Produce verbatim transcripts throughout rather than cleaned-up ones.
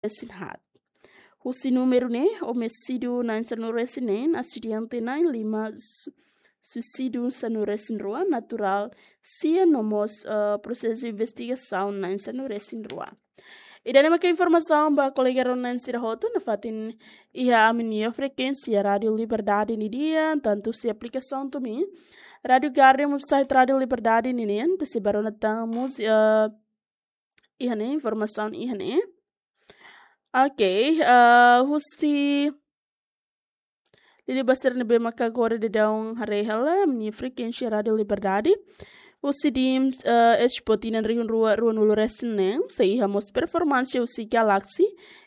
resin haat. Husi númeru ne'e, omesídiu na'in sanulu resin neen, asidente na'in lima, su-, suisídiu sanulu resin rua, naturál sia no mós, eh, prosesu investigasaun na'in sanulu resin rua. Ida-ne'e maka informasaun ba kolega rona-na'in sira hotu nafatin iha ami-nia frekuénsia Rádiu Liberdade nian, tantu husi aplikasaun Tumin, Rádiu Guardian, website Rádiu Liberdade nian, tesi ba rona tan múzika, eh, iha ne'e, informasaun iha ne'e. Ok, eh, husi liuliu ba sira ne'ebé maka agora daudaun haree hela ami-nia frekuénsia Rádiu Liberdade. Husi di'ak, eh, Expo tinan rihun rua ruanulu resin neen, sei iha mós performánsia husi Galaxy,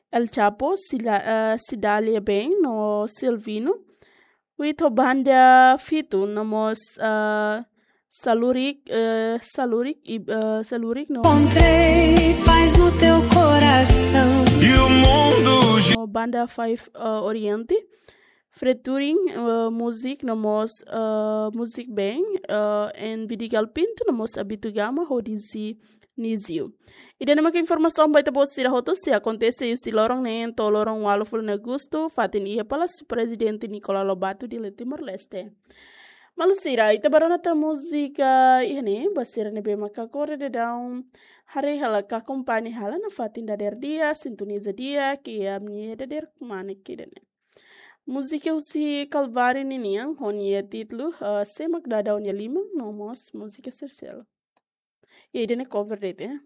El Chapo, Sila-, eh, Cidalia Band no Silvino. Husi banda Fitu no mós, eh, Salurik, eh, Salurik, i, eh, Salurik no Encontrei paz no teu coração. E o mundo gi- no banda Five, eh, Oriente, featuring, eh, Music no mós, eh, Music Band, eh, en Vidigal Pinto no mós Abito Gama ho D J Nizio. Ida-ne'e maka informasaun ba ita-boot sira hotu sei akontese husi loron neen to'o loron ualufulu Agostu, fatin iha Palásiu Prezidente Nicolau Lobato, Dili, Timor-Leste. Maluk sira, ita ba rona tan múzika iha ne'e, ba sira ne'ebé maka agora daudaun haree hela ka akompaña hela nafatin dadeer dia, sintoniza di'ak iha ami-nia dadeer kmanek ida-ne'e. Múzika husi Calvário ninian, ho nia títulu, eh, Sé Mak Daudaun Nia Liman, no mós múzika Sersel. I ida-ne'e cover de'it, eh.